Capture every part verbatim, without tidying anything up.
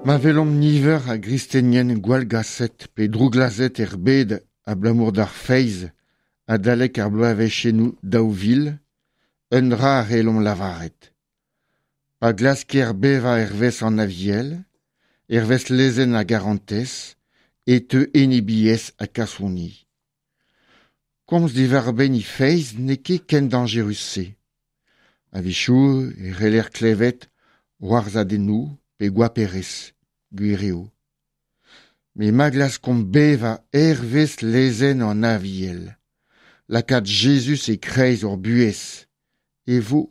Ma welomp niver a gristenien gwallgaset pe drouglazhet er bed abalamour d'ar feiz adalek ar bloavezhioù daou vil, un dra a c'hellomp lavaret. Pa glasker bevañ hervez an Aviel, hervez lezenn ar garantez, e teu enebiezh ha kasoni. Komz diwar-benn he feiz n'eo ket ken dañjerus-se. A-wechoù e c'heller klevet c'hoarzhadennoù pe goaperezh, gwir eo. Met ma glaskomp bevañ hervez lezenn an Aviel, lakaat Jezuz e-kreiz hor buhez, e vo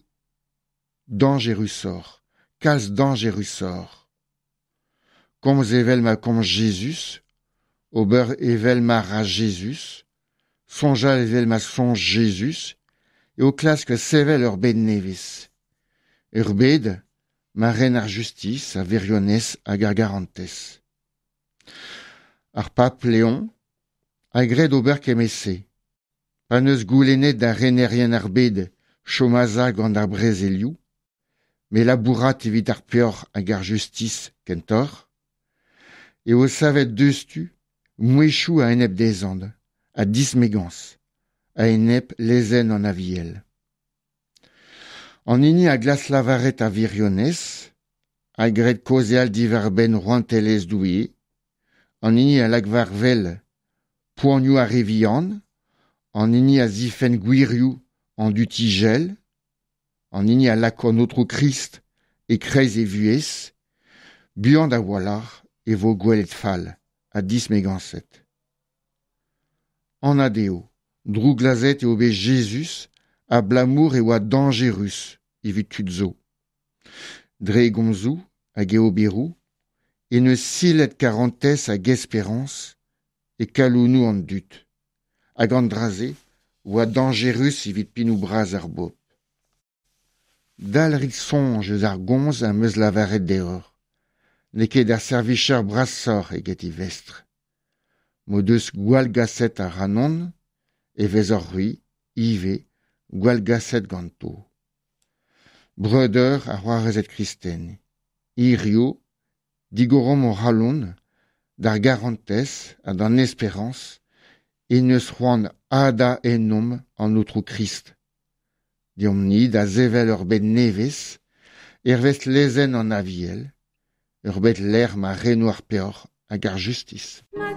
dañjerusoc'h, kalz dañjerusoc'h. Komz evel ma komz Jezuz, ober evel ma ra Jezuz, soñjal evel ma soñj Jezuz, eo klask sevel ur bed nevez. Ur bed ma ren ar justis, ar wirionez hag ar garantez. Ar pab Leon a gred ober kement-se. Pa 'neus goulennet da renerien ar bed chom a-sav gant ar brezelioù, met labourat evit ar peoc'h hag ar justis kentoc'h, eo savet diouzhtu mouezhioù a-enep dezhañ ha dismegañs a-enep lezenn an Aviel. An hini a glask lavaret ar wirionez, a gred kaozeal diwar-benn rouantelezh Doue, an hini a lak war wel poanioù ar re vihan, an hini a zifenn gwirioù an dud ijel, an hini a lak an Aotrou Krist e-kreiz e vuhez, buan a-walc'h e vo gwelet fall ha dismegañset. Anat eo, drouglazhet eo bet Jezuz abalamour e oa dañjerus evit tud zo. Dre e gomzoù hag e oberoù en deus silet karantez hag esperañs e kalonoù an dud. Hag an dra-se oa dañjerus evit pennoù bras ar bobl. Dalc'hit soñj eus ar gomz am eus lavaret deoc'h. N'eo ket ar servijer brasoc'h eget e vestr. M'o deus gwallgaset ac'hanon e vezoc'h c'hwi ivez gwallgaset ganto. Breudeur ha c'hoarezed kristen, hiziv, digoromp hor c'halon d'ar garantez ha d'an esperañs en deus c'hoant hadañ ennomp an Aotrou Krist. Deomp-ni da sevel ur bed nevez, hervez lezenn an Aviel, ur bed lec'h ma reno ar peoc'h hag ar justis.